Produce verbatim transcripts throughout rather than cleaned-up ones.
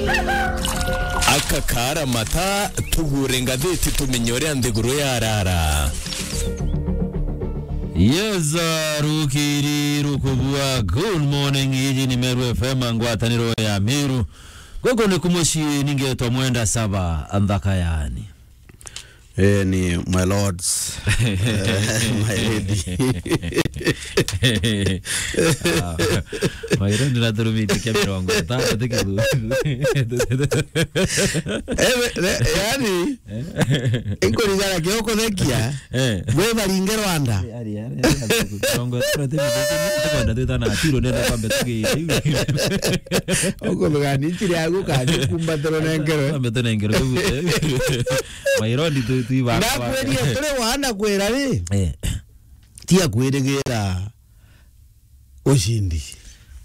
Aka kaara mata, tugure ngathiti tumenye uria nthiguru yarara. Yes, uh, rukiri rukubua. Good morning, iji ni Meru F M, ngwataniro ya Meru. Guku ni kumucii, ningetwa Mwenda Saba, nthaka yani. Eh, ni my lords. Eh, my lady. Ah, my lord, na turumite kia mirongo itano, ti kithuku. Eh, we, we, yani, inkurigana kio kuthekia, eh, we baringe Rwanda. Ari, ari, ari, mirongo itano ti mithuku, tukwenda twitana atiro, nenda kwambe tugi-, ukuthugania nchiri yaku, kathi kumbatiro nengerwe. Kwambe tunengerwe, tugute. Mairondi tu, tu iba. Ndakwirie turi wana kwira ri? Eh. Tia kwirigira ushindi.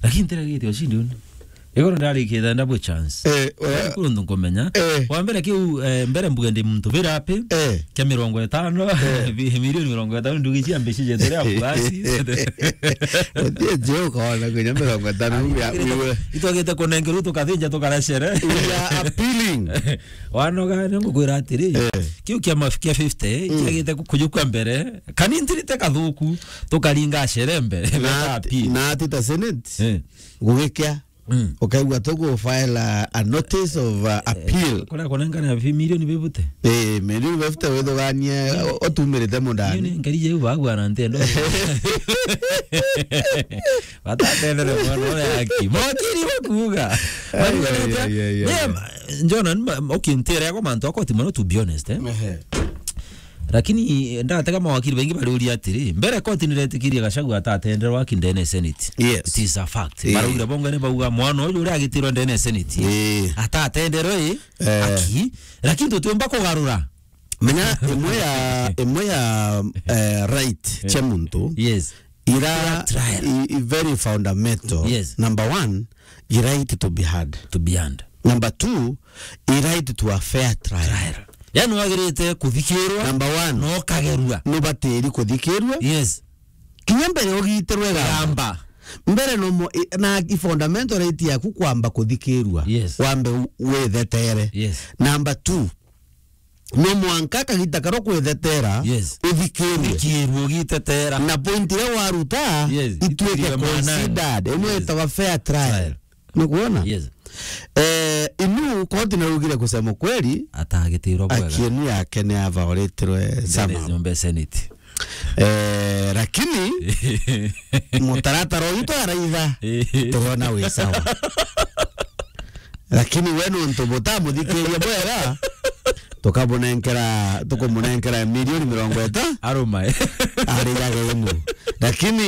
Lakini ntiragite ushindi uni. Igoro ndarikite ndabo chance. Eh, eh. Kuru ndu nkumenya. Eh. Wa mbere kiu, eh, mbere mbuge ndi muntu bira api? Eh. Kia mirongo itano, eh, bi-, milioni mirongo itano ndugi cia mbici jetu ria kuasi. Utie jio kona kwinya mirongo itano ya wiwe. Itwagite kunengerwo tukathinja tukarecere. We are appealing. Wanoga, ni ngukwira atiri, eh, kiu kia maf-, kia fifty, mm, kiagite ku-, kujukua mbere, kani ntirite kathuku, tukaringa acere mbere, na beta ati, appeal. Na ati ta Senate, eh, gugikia, mm, ukaigua tugu file a, a notice of, uh, eh, appeal. Kuria kunengana fi-, milioni fifty? Eh, milioni fifty withuganie, mm, o-, otumirite mundani. Milioni ngari jeu bagwana ntendo. Batatendere mwana uria aki. Mokiri bakuuga. Ai, ai, ai, ai, ai. Njona, nima-, okay, ntere yako mantu akoti mono, to be honest, eh? Ehe. Lakini ndatega mawakiri baingi bariuria atiri, mbere koti niretikirie Gachagua atatenderwa aki ndene ya Senate. Yes. It is a fact. Eh. Baraugire bongo ni bauga mwana uyu uria agitirwe ndene ya Senate. Eh. Atatenderwe, eh, eh, aki. Lakini tutiumba kugarura. Menya imwe ya, imwe ya, eh, right, eh, cia muntu. Yes. Ira, fair trial. I, i very fundamental. Yes. Number one, i right to be heard. To be heard. Number two, i right to a fair trial. Trial. Yani wagirite kuthikirwa. Number one. Na ukagerua. Nubatiri kuthikirwa. Yes. Kinya mbere ugitirwe gamba. Gamba. Mbere no mo-, i-, na i fundamental right yaku kwamba kuthikirwa. Yes. Wambe u-, withetere. Yes. Number two, no mwanka kagita karo kwithetera, yes, uthikirwe. Uthikirwe ugitetera. Na point iria waruta, yes, ituike ituike maanani. Considered. Ino, yes, itawa fair trial. Trial. Ni kuona? Yes. Eh, inu koti naugire kusema kweli, atagitirwa bwega. Aki inu yake ni avauritwe sana. Nyombe Senate. Eh, lakini mutaratara uyu twaraitha, eh, turona wi sawa. Lakini we nontu butamuthikiria bwega, tukamunenkera, tukumunenkera milioni mirongo itano. Arumae. Ari ya genu. Lakini,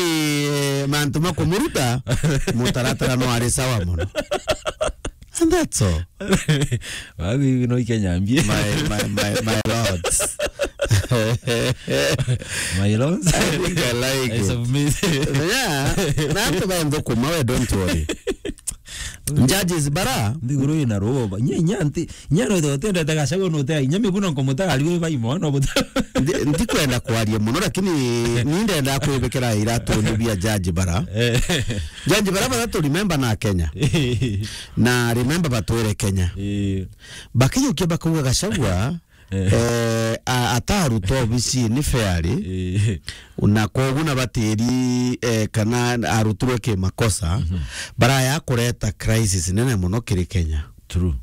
eh, mantu makumuruta, mutaratara no ari sawa mono. And that's all. Wagu hivi no ikenya mbie. My, my, my, my lords. My lords. I think I like it. I submit. Yeah. Na antu ba nthukuma we, don't worry. Judges bara. Nthiguru ina ruo. Nye, nye anti, nye no tendete Gachagua no te. Nye miguna nkomutara riwe bai mwana buta. Ndi, ndikwenda kwaria muno, lakini ni ndenda kwibikira iratu ni bia judge bara. Eh. Judge bara bara tu remember na Kenya. Na remember batwire Kenya. Eh. Bakijukia bakauga Gachagua, eh, eh, a-, atarutwa obici ni fairly. Eh. Na koguo na batiri, eh, kana arutirwe ki makosa, mhm, baraya kureta crisis nene muno kiri Kenya. True.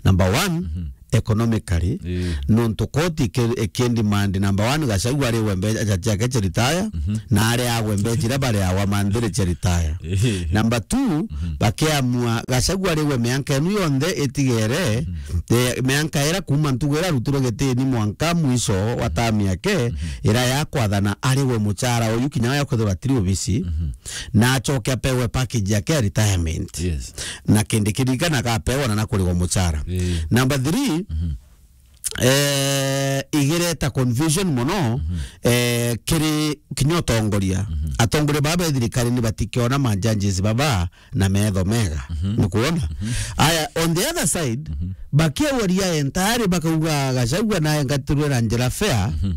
Number one, mhm, economically, eh, nontu koti iki-, ikidemand number one, Gachagua ariwe mbeca ciake cia retire, mhm, na ari agwe mbeca iria bariagwa manthiri cia retire. Eh. Number two, mhm, bakiamua Gachagua ariwe mianka inu yonthe itigere, mhm, eh, mianka ira kuma ntugu ira arutirwe gitini mwanka mwisho wa term yake, mhm, ira ya kwathana ariwe muchara uyu kinya ya kwithirwa atiri obisi, mhm, na acoke apewe package yake ya retirement. Yes. Na kindi kiririkana akapewa na na kurigwa muchara. Eh. Number three, mhm, eh, igireta confusion muno, mhm, eh, kiri kinya utongoria. Mhm. Atongoria baba ba thirikari ni batikiona ma judges baba na metho mega. Mhm. Ni kuona? Mhm. Aya, on the other side, mhm, bakiauria entire bakauga Gachagua na engatirwe na njira fair, mhm,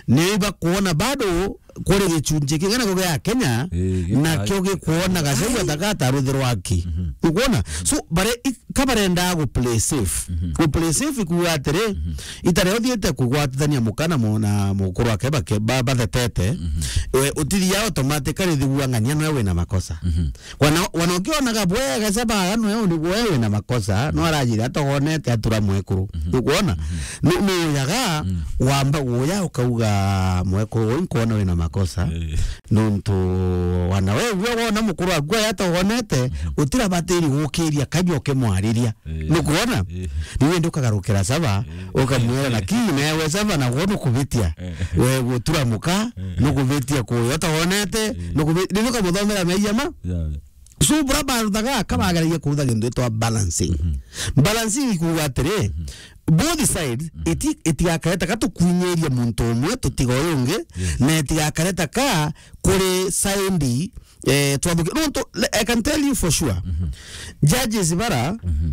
ni bakuona bado kuri gicunji kingi nakio gia Kenya, eh, nakio gikuona Gachagua taka ataruthirwa aki. Mhm. Ukuona? So, bare, i-, ka barendaa gu play safe. Mhm. Gu play safe ikuuga atiri, mhm, itare uthiite kugwatithania muka na mu-, na mukuru wake bake-, ba-, bathetete, mhm, we, utithia automatically thigua ng'ania noe wina makosa. Mhm. Wana, wana ukionaga bwega Gachagua noe uni-, we wina makosa, no arajire atogonete atura mwekuru. Mhm. Ukuona? Mhm. Nu-, nuujaga, mm, wamba guya ukauga, "Mwekuru uyu nkwona wina makosa." Eh. Nontu wana we, we wona mukuru waku aya atogonete, mhm, utirabatiri gukiria kanya ukimwariria. Eh. Nukwona? Eh. Riu indi ukagarukira Gachagua, eh, ukamwira, "Lakini nawe Gachagua nagwo nukubitia." Eh. We gutura muka, eh, nukubitia kuyo atogonete, eh, nukubi-, riu ukamuthomera meeyia ma? Yeah. So, bura baruthaga, ka bageragia kurutha gintu gitwa balancing. Mhm. Balancing ikuuga atiri, mhm, both sides, mhm, iti-, itigakareta ka tukwinyiria muntu umwe tutiga uyu ungi, yes, na itigakareta ka kuri side, eh, twathuki-, nontu, I can tell you for sure, mhm, judges bara, mhm,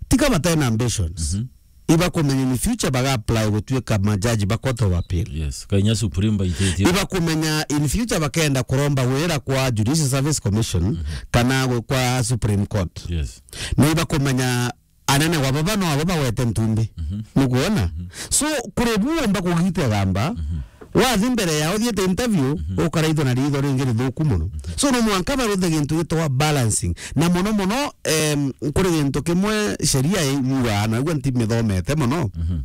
tika batena ambitions. Mhm. Ibakumenya in future baga apply gutuika majaji ba Court of Appeal. Yes, kainya Supreme baititie. Ibakumenya in future bakenda kuromba wira kwa Judicial Service Commission, mhm, kana gwe-, kwa Supreme Court. Yes. Na ibakumenya anene wa baba no abo bagwete ntumbi. Mhm. Nukwona? Mhm. So, kuri bu umba kugite gamba, mhm, wathi mbere ya uthiite interview, mhm, ukaraithwa na riitho ringi rithuku mono. Mhm. So, no mwanka baruthe gintu gitwa balancing. Na mono mono, em, kuri gintu kimwe sheria yugaa, na igua ntimithomete mono. Mhm.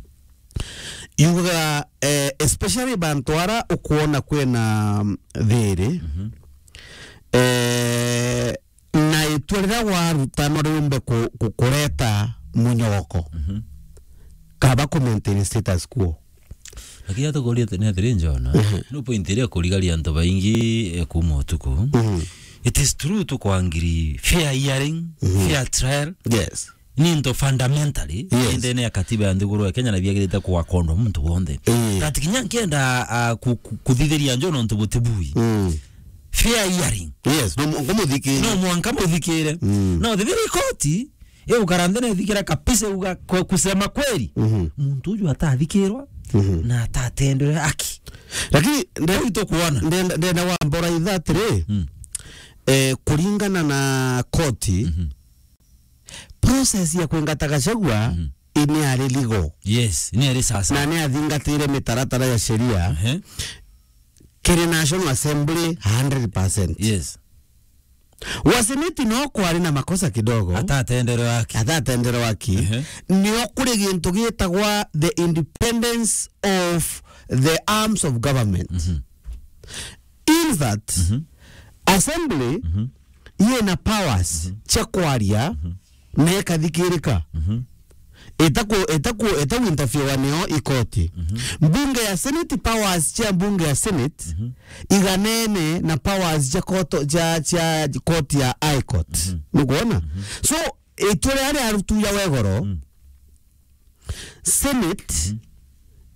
Yugaga, eh, especially bantu ara ukwona kwina, mm, thiri, mhm, eh, na itua riria waruta no riumbe ku-, ku-, kureta munyoko, mhm, kaba ku maintain status quo. Lakini atukuria ni atiri, Njona, mhm, no point iria kurigaria antu baingi, eh, kuma utuku. Mhm. It is true tukwangiri fair hearing, mhm, fair trial. Yes. Ni into fundamentally, yes, ndene ya katiba ya nthiguru ya Kenya na biagirite kwakondwa muntu wonthe. Eh. That kinya nkienda, ah, ku-, ku-, kuthithiria Njona untu butibui. Mm. Fair hearing. Yes, no mu-, ngumuthikire. No mwanka muthikire. Mm. No thithiri koti, igukara nthene ithikira kabisa uga kwe-, kusema kweli. Mhm. Muntu uju atathikirwa, mhm, na atatendwe haki. Lakini nde-, riu tukuona. Ndenda, ndenda wambora itha atiri, mm, eh, kuringana na koti, mhm, process ya kwingata Gachagua, mhm, ini ari legal. Yes, ni ari sasa. Na ni athingatire mitaratara ya sheria. Ehe. Kiri National Assembly hundred percent. Yes. Wa Senate no kwari na makosa kidogo. Atatenderwa haki. Atatenderwa haki. Ehe. Nio kuri gintu gitagwa the independence of the arms of government. Mhm. In that, mhm, Assembly, mhm, yina powers, mhm, cia kwaria, mhm, na ikathikirika. Mhm. Itaku-, itaku-, itaku interfere nio ikoti. Mhm. Mbunge ya Senate, powers cia mbunge ya Senate, mhm, iganene na powers cia koto-, cia, cia court ya High Court. Mhm. Nukwona? Mhm. So, itua riria riarutuja wegoro, mm, Senate,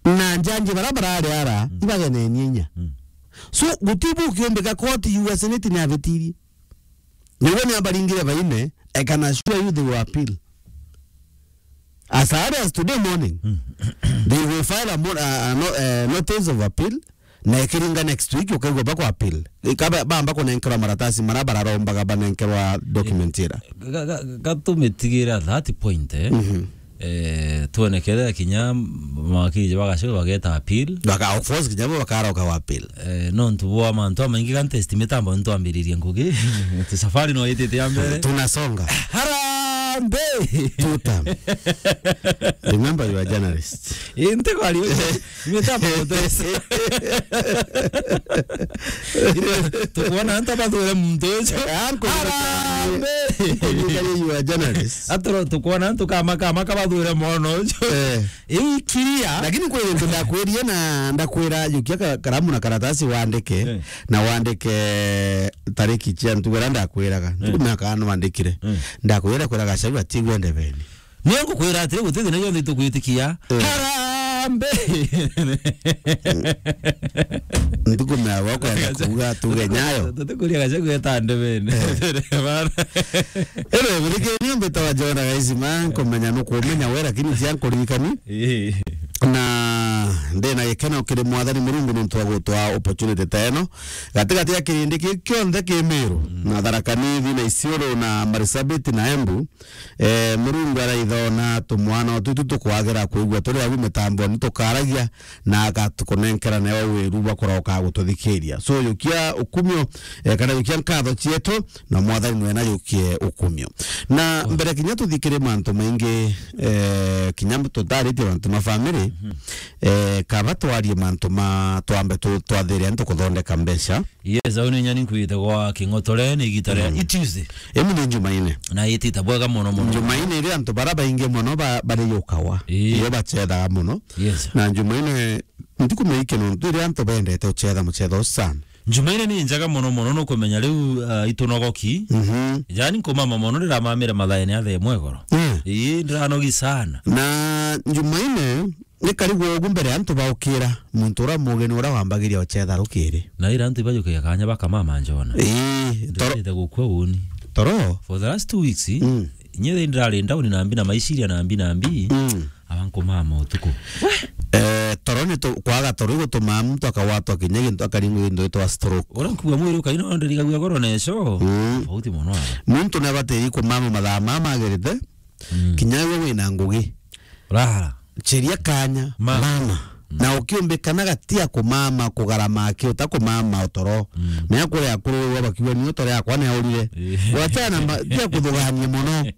mhm, na njanji bara barari ara, mm, ibagenenie inya. Mm. So, gutibu kiumbika court yuga Senate ni abitirie. Niguo ni abaringire baine, I can assure you they will appeal. As early as today morning, mm, they will file a mo-, a, a no-, eh, notice of appeal, na ikiringa next week ukaigua bako appeal. Ikaba bamba kunenkerwa maratasi mara bararombaga banenkerwa document ira. Ga-, ga-, ga-, gatumitigire at that point, eh. Mhm. Eh, tuonekere kinya mawakiri ja Gachagua bageta appeal. Baka, of course, kinya bo bakaroka wa appeal. Eh, nontu bwa mantu amaingi, ga nti estimate amba ntwambiririe ngugi. Ati safari no itite ya mbere. Tunasonga. Harambee! Two term. Remember, you are a journalist. Inte kwari. Mitambo gutesa. Tukwona antu bathure muntu ucio. Uncle, harambee! Uncle, you are a journalist. Atoro tukwona antu kama, kama kabathure mwana ucio. Eh. Ikiria. Lakini kwi gintu ndakwirie na ndakwira, jukia ka-, karamu na karatasi wandike, eh, na wandike tariki cia ntuku iria ndakwiraga. Eh. Ntuku miaka ano wandikire. Eh. Ndakwira kwira Gachagua atigwe ndebeni. Ni ngukwira atiri, guti thina yonthe itugwitikia. Eh. Harambee! Ntuku mia wako ya kuuga tuge nyayo. Tutikuria Gachagua eta ndebeni. Eh. Bana. Ere, muthikiri, ni mbita wa Jona Gaisima, nkumenya nukumenya we, lakini cia nkuririkani. Eh. Na Ndi na gikeno kiri Mwathani Murungu nontu wa gutwaa opportunity ta ino. Gatigati ya kirindi kiu kionthe ki Miru, mm, na Tharaka Nithi, na Isiolo, na Marsabit, na Embu, eh, Murungu araithona tumwana o tutu tukwagira kwigua turi au mitamboni tukaragia, na agatukunenkera nawe wiru bwa kuroka gututhikiria. So, yukia ukumio, eh, kana yukia nkatho cietu, na Mwathani nwe na yukie ukumio. Na, mm, mbere kinya tuthikire mantu maingi, eh, kinya tutaritie mantu ma family, mhm, eh, kaba twarie mantu ma twambe tu-, twathire antu kuthondeka mbeca. Yes, au ni nyani nkwite gwa King'otore ni igita ria, mm, i Tuesday. Emu ni Jumaine. Na itita bwega mono mono. Jumaine iria antu bara baingi mono ba-, bari yukawa. Ii. Iyo bacethaga mono. Yes. Na Jumaine ntikumenya iki nontu iria antu bendete ucetha mucetho sana. Jumaine ni njega mono mono, nukumenya riu, ah, itunogoki. Mhm. Jani nkumama mono, ndiramamire mathaene ya thaa imwe igoro. Eh. Ii, ndiranogi sana. Na Jumaine ni karigwa ugu mbere antu baukira, muntu uria mugeni uria wambagiria ucetha rukiri. Na ira antu ibajukagia kanya bakamama njona. Ii, toro. Ndirite gukua uni. Toro? For the last two weeks, mm, nye ndirari down na mbi na maiciria na mbi na mbi. Mm. Aba nkumama utuku. Eh, toro ni tu-, kwaga toro igutumaa muntu akagwatwa kinya gintu, akaringwa gintu gitwa stroke. Uria nkuga mwiri ukaina, no ndirigagua goro na ico. Mm. Tofauti mono aba. Muntu nabatiri kumama mathaa mama agirite. Mm. Kinya we wina ngugi. Rara. Cheria kanya, ma-, mama. Mm. Na ukiumbikana gatia kumama, kugarama aki utakumama utoro. Mm. Na akuri akuru wa bakiwa ni utoro yakwa ni aurire. Eh. Gwachana ma-, tia kuthugania mono.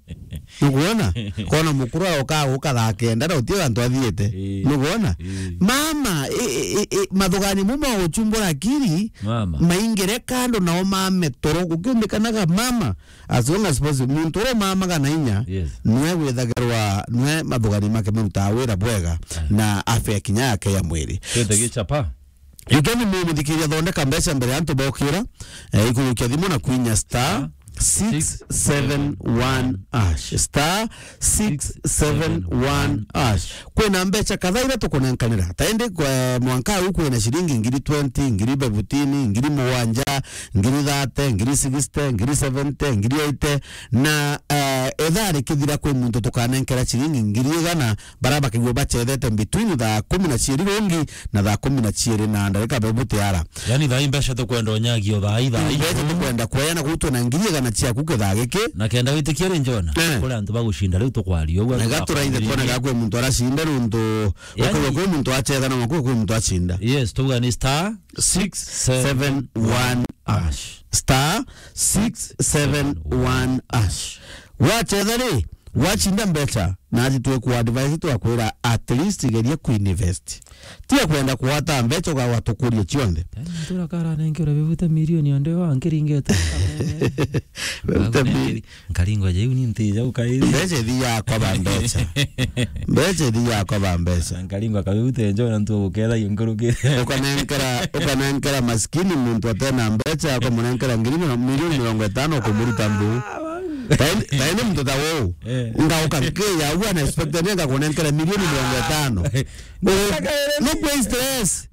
Nukuona? Kona mukuru aroka guka thaa kenda na utie antu athiete. Ii. Nukuona? Ii. Mama, i, i, i, i, mathugani mu ma uchumbura akiri, mama, maingire kando nao mame toro gukiumbikanaga mama. As long as possible, muntu uria mamaga na inya, yes, nwe withagirwa, nwe mathugani make marutaga wira bwega, aye, na afya kinya yake ya mwiri. Twende gichapa. You can mumuthikiria thondeka mbeca mbere antu bokira, eh, ikurukia thimu na kwinya star six seven one hash. Star six seven one hash. Kwina mbeca kadhaa iria tukunenkanira. Ta indi kwa mwanka huu kwina shilingi ngiri twenty, ngiri fifteen, ngiri mugwanja, ngiri thirty, ngiri sixty, ngiri seventy, ngiri eighty. Na, eh, ithaa rikithira kwi muntu tukanenkera shilingi ngiri igana, bara bakigua bachethete between thaa kumi na ciiri rungi na thaa kumi na ciiri na ndarika bebu tiara. Yani thaa ii mbeca tukwenda unyagio thaa ii, thaa ii. Mbeca tukwenda kweana kuu twina ngiri igana ciaku kithaa giki. Na kenda witikia ri Njona, eh, kuri antu bagucinda riu tukwaria uguo. Na gaturaithe twone kana kwi muntu aracinda nuntu, yani, ukauga kwi muntu acetha na kwi muntu acinda. Yes, tuga ni star six seven one hash. Star six seven one hash. Wachetha ri, wacinda mbeca, nathi twi ku advise twakwira at least geria ku invest. Tia kwenda kuwata mbeca ugawa tukurie cionthe. Tena ntura kara nenkera bibute milioni onde wa nkiringete. Bibute mi- Nkaringwa ja iu ni nti ja ukairi. Mbeca ithi yakwa ba mbeca. Mbeca ithi yakwa ba mbeca. Nkaringwa kabute njo na ntu guketha nkuruki. Ukanenkera, ukanenkera maskini muntu atena mbeca, ukamunenkera ngiri miro-, milioni mirongo itano ukumuruta mbu. Taini, taini muntu ta wou. Eh. Ngauka nkiya ua na expect ni ngakunenkera milioni mirongo itano. No kwe stress.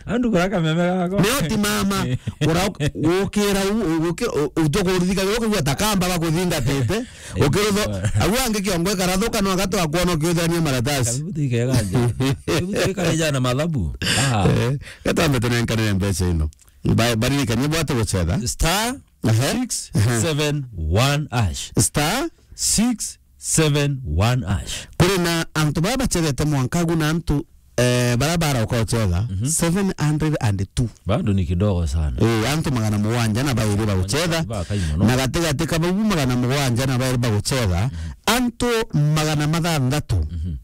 Andu kura kameme gako. Nio ti mama. Kura gukira u-, u-, gukira u-, utukuruthika gukigua ta kamba bakuthingatite. Eh, ukirutho, eh, au angi kiongo ikarathuka no agatwa kuona ukiuthania maratasi. Kabibuti kega nje. Kabibuti kare jana mathabu. Ah. Eh, gatambete nenkanire mbeca ino. Ba-, baririkanie bwate gucetha. Star, aha, six seven one hash. Star six seven one hash. Kuri na antu baba bachethete mwanka agu na antu, eh, bara barauka gucetha, mhm, seven hundred and two. Bado ni kidogo sana. Eh, antu magana mugwanja na bairi bagucetha. Bakai mono. Na gatigati ka bau magana mugwanja na bairi bagucetha, mhm, antu magana mathanthatu, mhm,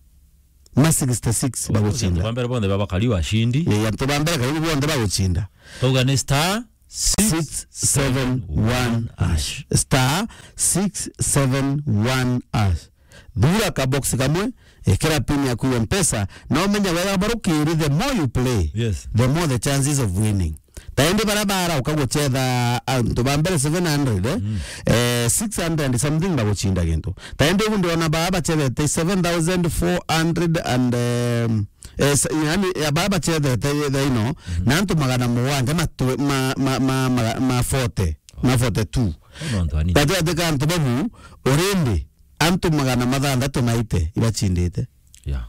ma sixty six bagucinda. Antu ba mbere bonthe babakari washindi. Eh, antu ba mbere karibu bonthe bagucinda. Tauga ni star six seven one hash. Star six seven one hash. Thura ka box kamwe, ekera pin yaku ya Mpesa, na umenya wega barukiri, the more you play, yes, the more the chances of winning. Taindi bara bara ukagucetha antu ba mbere seven hundred, eh? Mm. Eh, six hundred something bagucinda gintu. Taindi ugu ndiona ba bacethete seven thousand four hundred and, um, Eh, sa-, yani, ya baba bachethete thaa ino, mhm, na antu magana mugwanja matwe-, ma, ma, ma, ma, ma forty, oh, ma forty-two. Ino antu anini. Gatagatĩ ka antu babu, already, antu magana mathanthatu na eighty ibachindite. Yeah.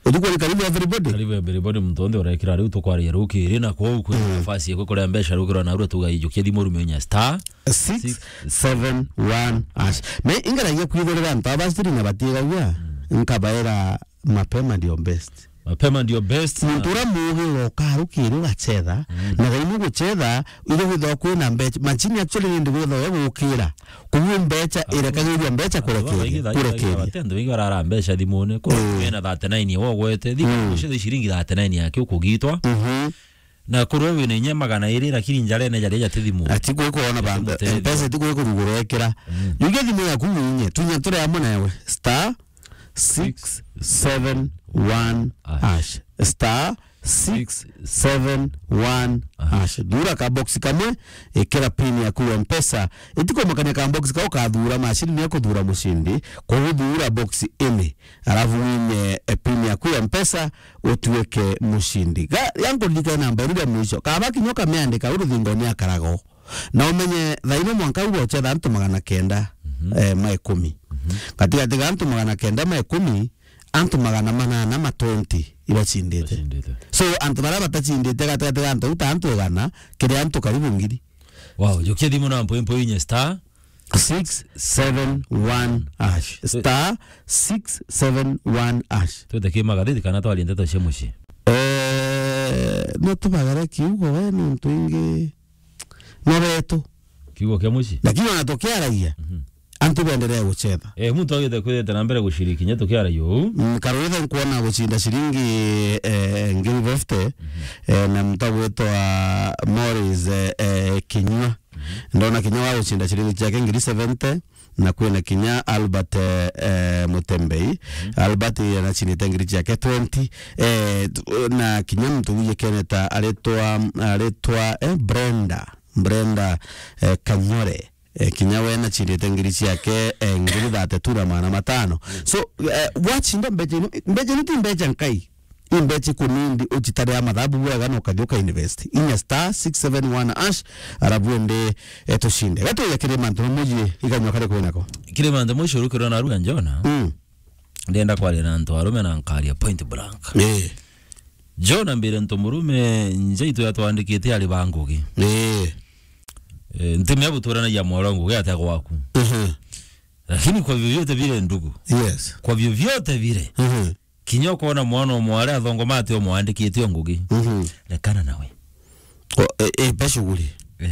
Utuku ni karibu everybody. Karibu everybody, muntu onthe urekira riu tukwaria rukiri, na kwou kwi nafasi ya kukuria mbeca rukiri na uru tuga ijukia thimu rume inya star six seven one hash. Me ingeragia kwithirira antu aba siri na batigagia, nkabaera mapema ndio best. Mapema ndio best. Muntu uria muugi uroka rukiri ugachetha, na thaini guchetha, iri gwithwa kwina mbeca. Machine actually nindi gwithwa we gukira. Koguo mbeca irekagiria mbeca kurekeria, kurekeria. Antu baingi thaa ici barara mbeca thimune. Kwina thirty-nine wogwete, thimu cia ciringi thirty-nine yake ukugitwa. Na kurwa wina inya magana iri, lakini njarene jaria jati thimu. Ati kwi kuona ba-, mpesa ti kwi kurugura ekira. Jukia thimu yaku winye, tunya turi amwe nawe. Star six seven one hash. Star six seven one hash. Thura ka box kamwe, ikira pin yaku ya mpesa. Itikumakania ka box kau kathura, machine ni akuthura mucindi. Koguo thura box ini, alafu winye, eh, pin yaku ya mpesa, utuike mucindi. Ga, yankuririkana namba iria mwisho. Kaba kinya ukamiandika, u ruthingoni akarago. Na umenye, thaino mwanka u gochetha antu magana kenda, eh, ma ikumi. Gatigati ga antu magana kenda ma ikumi, antu magana manana ma twenty ibacindite. Ibacindite. So, antu baria batacindite gatigati ga antu uta antu igana, kiri antu karibu ngiri. Wow, jukia thimu na mpwempwe inye star six seven one hash. Star six seven one hash. Twete ki magathiti kana twarie ndeto cia mucii? Eh, no tubagare kiugo we nontu ingi no betu. Kiugo kia mucii? Lakini ona tukiaragia, antu benderee guchetha. Eh, muntu agite kwithite na mbere guciriki kinya tukiaragia uu. Mm, Karwitha nkuona gucinda ciringi, eh, ngiri fifty, eh, na muntu agwitwa Morris, eh, eh, Kinyua. Ndona kinya wa gucinda ciringi ciake ngiri seventy, na kwina kinya Albert, eh, eh, Mutembei. Albert anacindite ngiri ciake twenty, eh, tu-, na kinya muntu wije keneta aritwa, aritwa, eh, Brenda, Brenda, eh, Kanyore. Eh, kinya we nacindite ngiri ciake, eh, ngiri thirty-two na magana matano. So, eh, wacinda mbeca ino, mbeca ino ti mbeca nkai. I mbeca kunindi ucitarira mathabu bwega na ukathi uka invest. Inya star six seven one hash, arabu ende, eh, tucinde. Gatu ya kiri mantu na muji iganywa kare kwinako. Kiri mantu muji urukirwa na ruga Jona. Mm. Ndenda kwaria na antu arume na nkaria point blank. Eh. Jona mbire ntu murume njaitu yatwandikite ari ba ngugi. Eh. Eh, ntimea buturanagia mwaro ngugi atia gwaku. Mhm. Lakini kwa vyovyote vile ndugu. Yes. Kwa vyovyote vile. Mhm. Kinya ukona mwana o mwari athongoma ati umwandikite o ngugi. Mhm. Rekana nawe. O, e, e, pe shughuli. Eh.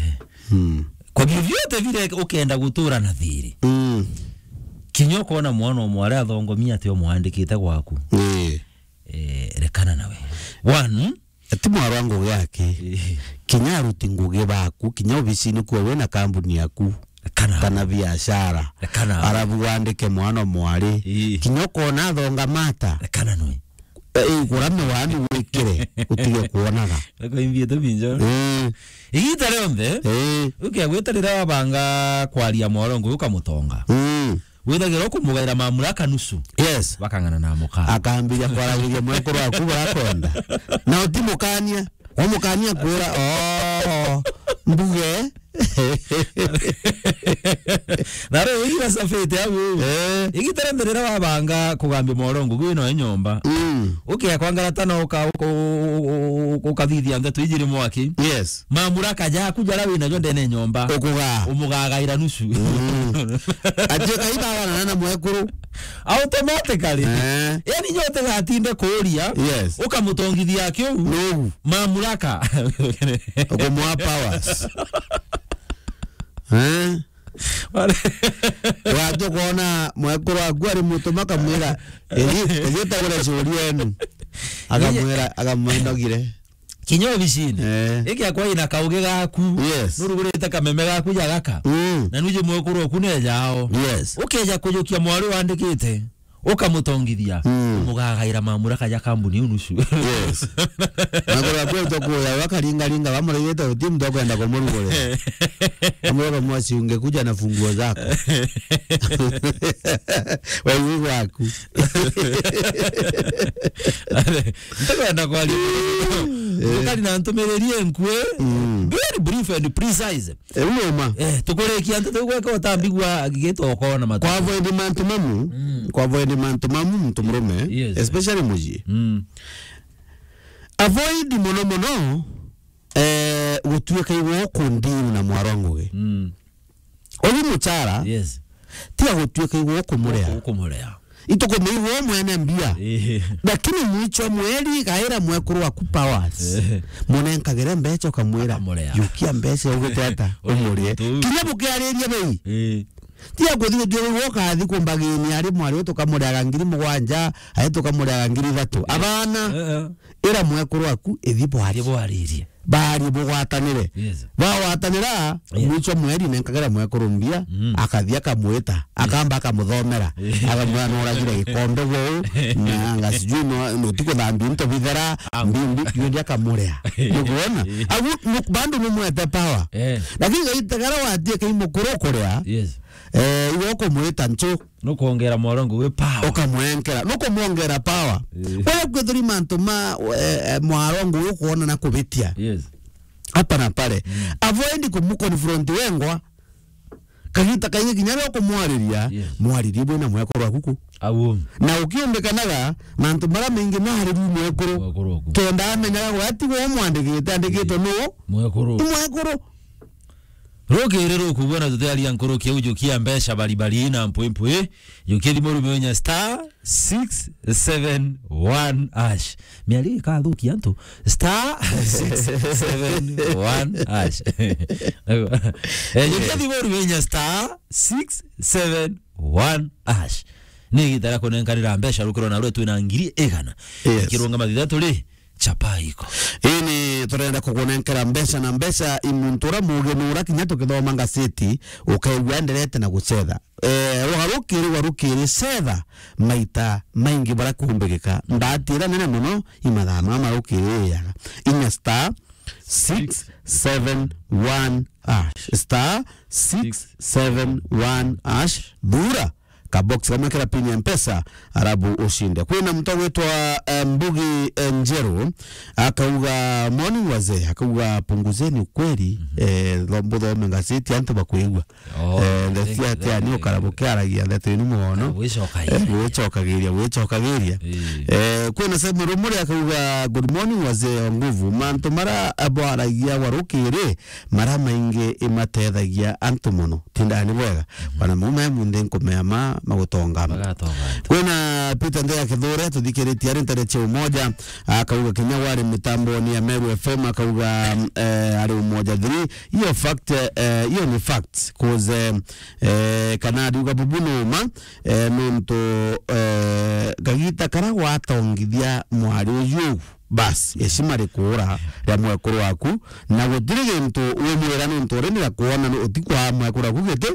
Mm. Kwa vyovyote vile ukenda gutura na thiri. Mm. Kinya ukona mwana o mwari athongomia ati umwandikite gwaku. Eh. Eh, rekana nawe. One, ti mwaro wa ngugi aki. Eh. Kinya aruti ngugi baku, kinya obisini kuo wina kambuni yaku. Kana. Kana biashara. Kana. Arabu wandike mwana mwari. Ii. Kinya ukona athonga mata. Kana nwe. Eh, igura miwani wikire, utige kuonaga. Nako imbiete binjo. Eh. Igita rionthe, eh, ukiagwita riria wabanga kwaria mwaro ngugi ukamutonga. Mm. Withagira ukumugaira mamuraka nusu. Yes. Bakang'ana na muka. Akambiria kwaragiria mwekuru waku burakwenda. Na utimukania. Wamukania kwira, "Oh, mbuge." Na riu igira safete au. Eh. Igita rionthe riria wabanga kugambia mwaro ngugi wina nyomba. Mm. Ukia kwangarata na uka-, uka-, uka-, ukathithia ndeto ijiri mwaki. Yes. Mamuraka jaku jara wina jo ndene nyomba. Ukugaa. Umugagaira nusu. Mm. Atuika ibagana na mwekuru. Automatically. Eh. Yani nyote gatinde kuria. Yes. Ukamutongithia kiu. Nugu. Mamuraka. Ukumwa powers. Eh? Wale- Watu kuona mwekuru waku ari mutuma kamwira, "Ethi, ethi utagure curi yenu." Akamwira, akamwinogire. Kinya obicini. Eh. Iki akwa ina kaugi gaku. Yes. Nurugurite kameme gaku ja gaka. Mm. Na nuje mwekuru oku ne jao. Yes. Ukeja kujukia mwari wandikite. Ukamutongithia, mm, umugagaira mamuraka ja kambuni iu nusu. Yes. Maguru ya kwetu kuya, wakaringaringa, wamurigite uti mtu akwenda kumurugurira. Amurega mwasi ungekuja na funguo zako. Wewe waku. Ntakwenda kwaria. Eh. Ukari na ntumiriri enkue. Mm. Very brief. brief and precise. Eh, uma. Eh, tukurikia antu tiu gweka utambigua gitoko na matu. Kwa avoid mantu mamu, mm, kwa avoid mantu mamu, muntu murume, yes, especially muji. Mm. Avoid muno muno, eh, gutuika igwe ukundini na mwarwa ngugi. Mm. Uyu muchara, yes, ti agutuika igwe ukumurea. Ukumurea. Itukumiigua mwene mbia. Eh. Lakini mwicho mweri gaira mwekuru waku powers. Eh. Munenkagire mbecha ukamwira, akamwira, "Yukia mbecha ugite ata?" Umurie. Kinya bukiariria bei. Eh. Ti akuthi gutuika igwe ukathi kumbagini ari mwari utukamureaga ngiri mugwanja, ari tukamureaga ngiri ithatu. Abana. Eh, eh. Ira mwekuru waku, ithi bwari. Ithi bwaririe. Bari bugwatanire. Yes. Bagwatanira, yes, mwicho mweri nenkagira mwekuru mbia, mm, akathi akamwita, yes, akamba akamuthomera, akamwira, "Noragire gikombe guu, na anga sijui no, nutikuthambia into bithera, am, mbi, mbi, yundi akamurea." Nukuona? Agu, nu, bandu numwete power. Eh. Lakini gaita gara watie kai mukuru kurea, yes, eh, iwe ukumwita nchu. Nukwongera mwarwa ngugi power. Ukamwenkera, nukumwongera power. Eh. Wewe kwithuri mantu ma, eh, eh, mwarwa ngugi ukuona na kubitia. Yes. Hapa na pale. Mm. Avoid kumuconfront wengwa. Kagita kaingi kinya rio kumwariria, yes, mwaririe bwina mwekuru waku ku. Au. Na ukiumbikanaga, mantu mara maingi naririe mwekuru. Mwekuru waku. Kenda amenyaga gwe ati we umwandikite, andikitwe, yes, nu? Mwekuru. Ni mwekuru. Rukiri rukubua na tutiaria nkuruki au, jukia mbeca baribari na mpwimpwi, jukia thimu rume unya star six seven one hash. Miari ikathukia antu, star six seven one hash. Eh, jukia thimu rume unya star six seven one hash. Ni igita ria kunenkanira mbeca rukiro na rwe twina ngiri igana. Yes. Ikirunga mathitha turi chapa iko. Ini turenda kukunenkera mbeca na mbeca i muntu uria mugi nura kinya tukithoma ngaseti, ukaigua enderete na gucetha. Eh, warukiri, warukiri cetha maita maingi bara kumbigika. Ndatira nene muno i mathaa mama rukiri iyaga. Inya star six seven one hash. Star six seven one hash. Thura kabox kamwe kira pin ya Mpesa, arabu ushinde. Kwina mtu agwitwa, eh, Mbugi, eh, Njeru, akauga, "Morning wazee," akauga, "Punguzeni ukweli, mhm, eh, tho-, buthome ngaseti antu bakwigua." Oh, eh, ndeto thank you, cia thank tia ni you, ukara thank you. Bukiaragia ndeto inu mono. Wicokagiria. Eh, wicokagiria, wicokagiria. Eh. Eh, kwina Simon Rumuri akauga, "Good morning wazee wa nguvu. Mantu mara bwaragia warukiri, mara maingi imatethagia antu mono." Tindani bwega. Mhm. Bana maume munthi nkumea ma magutonga. Magatonga antu. Kwina Peter Ndea Kithure tuthikiritie ari ntare cia Umoja, akauga kinya wari mitamboni ya Meru F M, akauga, eh, ari Umoja three. Iyo fact, eh, iyo ni fact. Cause, eh, eh, kana ariuga bubu numa, eh, nuntu, eh, kagita kara gwatongithia mwari uyu. Bas, heshima rikuura ria mwekuru waku, na gutiri gintu umwira nuntu uri ni gakuona ni utikwa mwekuru waku giti,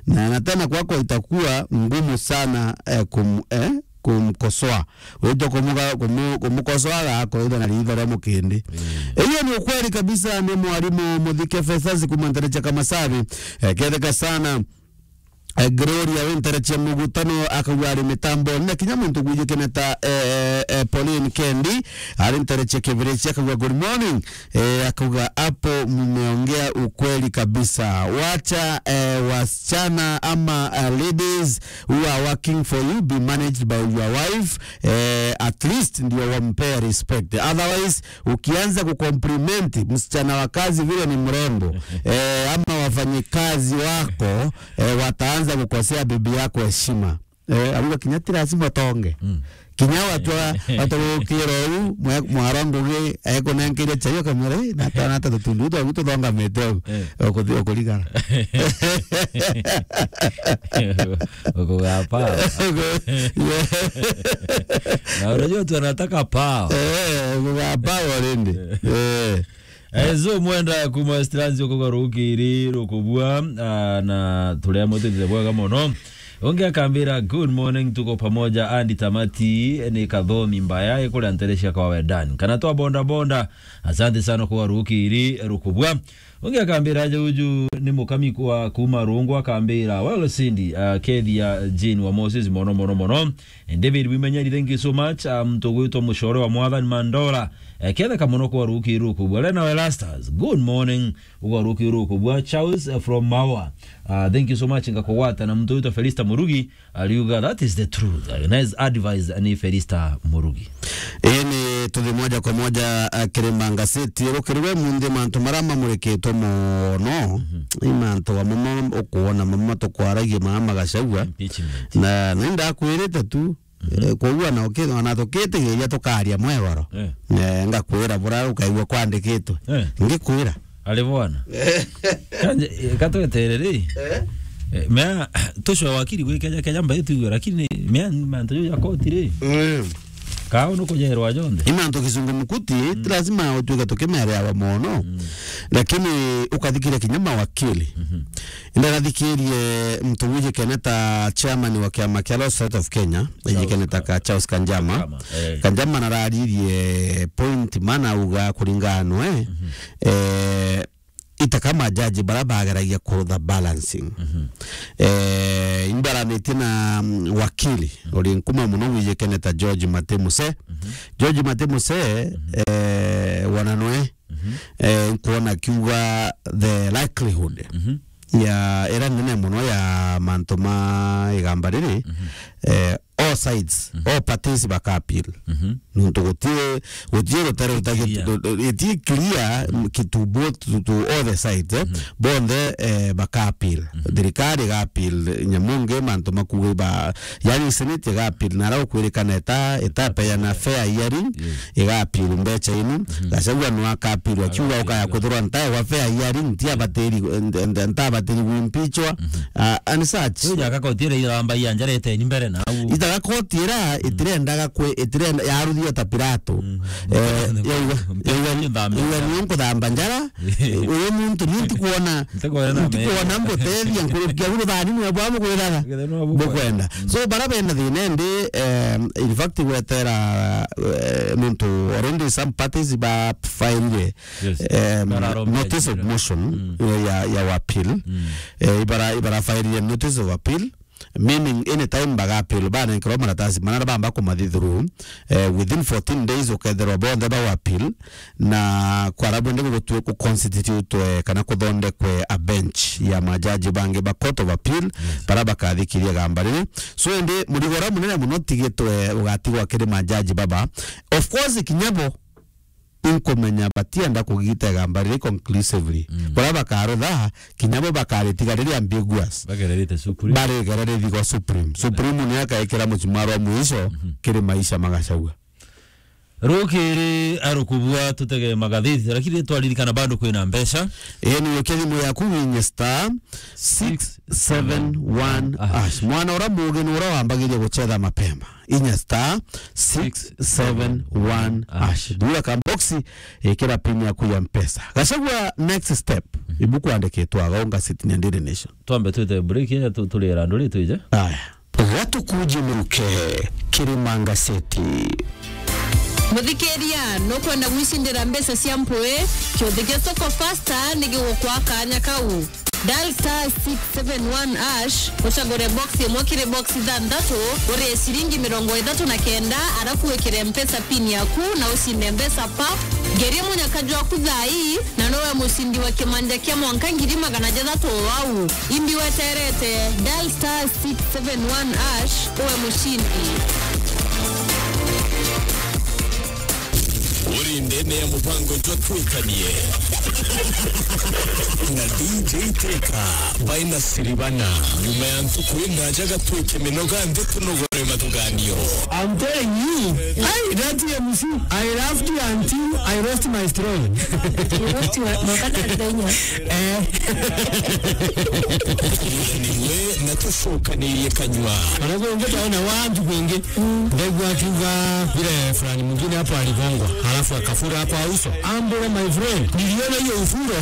na, na tena kwako itakuwa ngumu sana, eh, kum-, eh, kumkosoa. Wito kumuga-, kumu-, kumukosoa gako ita na ritho ria mukindi. Mm. Hiyo ni ukweli kabisa, ni mwarimu Muthike Festus kuma Nterecha Kamasabi, eh, ketheka sana. Eh, Gloria wi Nterecha Mugutano akauga ari mitambo, na kinya muntu gwijikene ta, eh, eh, Pauline Kendi, ari Nterecha Kibirichi akauga, "Good morning." Eh, akauga, "Hapo mmeongea ukweli kabisa. Wacha, eh, wasichana ama, eh, ladies who are working for you be managed by your wife, eh, at least ndio wampea respect. Otherwise, ukianza kucompliment msichana wa kazi vile ni mrembo, eh, ama wafanyikazi wako, eh, wataanza kukosea bibi yako heshima." Eh, aruga kinya ti lazima utonge. Mm. Kinya watu wa-, watu gukira u, mwe-, mwara ngugi, ekunenkeria chai, ukamwira, "Eh, nata, nata tutundu twaku tuthongamite u." Eh. Ukuthi-, ukurigara. Ukugapa. Uku-, yeah. Na unajua watu wanataka power. Eh, ukugapa already. Eh. Eh, Zo Mwenda kuma Westlands, ukuga rukiri rukubua, ah, na turia mutitire bwega mono. Ungi akambira, "Good morning, tuko pamoja, Andy Tamati, ni Kathomi Mbaya, ikuria Nterecha kwa Wedan. Kana twa bonda bonda, asante sana kwa rukiri rukubua." Ungi akambira aja uju ni mukami kwa kuuma Rungu, akambira, "Well, Cindy, uh, kethia Jane wa Moses mono, mono, mono." David Wimenyeri, thank you so much. Uh, muntu ugwitwa Mucore wa Mwathani Mandora. Eh, ketheka mono kwa ruki ruku. Bwale nawe Rastas, good morning. Ugwa ruki ruku. Bwa Charles, uh, from Maua. Uh, thank you so much, ngakugwata. Na muntu ugwitwa Felista Murugi, ariuga, "That is the truth." Uh, nice advice, ni Felista Murugi. Ii ni tuthi moja kwa moja, uh, kiri Manga City. Rukiri we munthi mantu maria mamurikitwe mono, i mantu amwe ma-, ukuona mamwe tukwaragia maa ma Gachagua. Impeachment. Na, na indakwirite tu, eh, koguo na uki-, ona tukitigiria tukaria mwegoro. Eh. Eh, ngakwira buria ukaigua kwandikitwe. Eh. Ngikwira. Ari bwana. Kanje, eh, katwetere ri. Eh? Eh, mea, tucwa wakiri gwi Kenya, Kenya mbai tuigwe, lakini mea ni mantu juu ya koti ri. Mm. Kao nukujerwa jonthe. I mantu kizungu mukuti, ti lazima utuike tukimereawa mono. Mm. Lakini ukathikiria kinya mawakili. Mhm. Indagathikirie muntu wijikene ta chairman wa kiama kia Law Society of Kenya, Charles ijikene ta Ka-, Charles Kanjama. Kanjama, eh. Kanjama nararirie point mana auga kuringana nwe, mhm, eh, ita kama jaji bara bageragia kurutha balancing. Mhm. Eh, imbaranitie na, mm, wakili, mhm, uri nkuma muno wijikene ta George Matemuse. Mhm. George Matemuse, mhm, eh, wana nwe, mhm, eh, nkuona kiuga the likelihood, mhm, ya ira nene muno ya mantu ma igamba riri, mhm, eh, all sides, mhm, all parties baka appeal. Mhm. Nuntu guti, guti rutere ruta-, clear, ruta-, iti clear, mm, ki to both, to, to all the sides, eh. Mhm. Bonthe, eh, baka appeal. Mhm. Thirikari iga appeal nyamungi mantu makuga ba, yani Senate iga appeal, na rau kwirikana eta, etapeana fair hearing, yes, iga appeal mbecha inu. Mhm. Gachagua no aka appeal, akiuga ukaya kuthurwa ntae wa fair hearing, ntia batiri, nta-, nta-, nta batiri gwimpichwa. Mhm. Ah, and such. Uyu jaka koti ira iramba ya njarete ni mbere na au. Itaga koti ira, mm, itirendaga kwe, itirenda, yaruthio ta Pilato. Mm. Eh, yauga, yauga, yauga ni nkuthamba njara, uyu muntu ni ntikuona, ntikuona mbutethia nkurukia uru thani nwe bwa bugwithaga. Bukwenda. Mm. So, bara bena thina ndi, em, in fact, gwetera, eh, nuntu already some parties ba fairire, yes, em, notice of motion, mm, eh, ya, ya appeal. Mm. Eh, ibara, ibara fairire notice of appeal. Meaning, anytime baga appeal, banenkerwa maratasi, manara bamba kumathi through, eh, within fourteen days uketherwa bonthe ba appeal, na kwara bwende gutue ku constitute, eh, kana kuthondekwe a bench ya majaji bangi ba Court of Appeal, yes, bara bakathikiria gamba riri. So, indi murigo uria munene muno tigitwe ugatigwa kiri majaji baba. Of course, kinya bo inkumenya batienda kugita igamba riri conclusively. Mm. Baria bakarutha, kinya bo bakaritiga riri ambiguous. Bagererite Supreme. Barigererithigwa Supreme. Supreme ni akaikira muchumaro wa mwisho, mhm, kiri maisha ma Gachagua. Rukiri arukubua tutege magathiti, lakini twaririkana bado kwina mbeca. Ii ni ukia thimu yaku winye star six seven one hash. Mwana uria mugi ni uria wambagiria guchetha mapema. Inya star six seven one hash. Thura ka box, ikira pin yaku ya Mpesa. Gachagua, next step. Mhm. Ibu kwandikitwa aga unga sitini ya Daily Nation. Twambe twite break ya tu-, turira nduri twije. Aya. Gatukuji muruke, kiri Manga City. Muthikiria, nukwenda gwicindira mbeca cia mpui? Kiuthi gia Soko Fasta ni gigukwa kanya kau. Dial star six seven one hash, ucagure box imwe kiri box ithanthatu, urie ciringi mirongo ithatu na kenda, arafu wikire Mpesa pin yaku na ucinde mbeca pap. Ngerie munyaka jwaku thaa ii, na nowe mucindi wa kimanja kia mwanka ngiri magana jathatu o au. Imbi weterete, dial star six seven one hash, uwe mucindi. Uri ndene ya mubango jwa Twikanie na D J Teka by Nasiribana. Nyuma ya ntuku indaja gatwike minoga nthi tunogore mathuganio. I'm telling you, I, that M C, I laughed until I lost my strength. Eh. Niwe na tucokanirie kanywa. Wanakuongea utaona watu wengi. Ndegwa akiuga vile fulani mwingine hapo aligongwa, halafu akafura hapo uso. Ambule, my friend, niliona hiyo ufuro.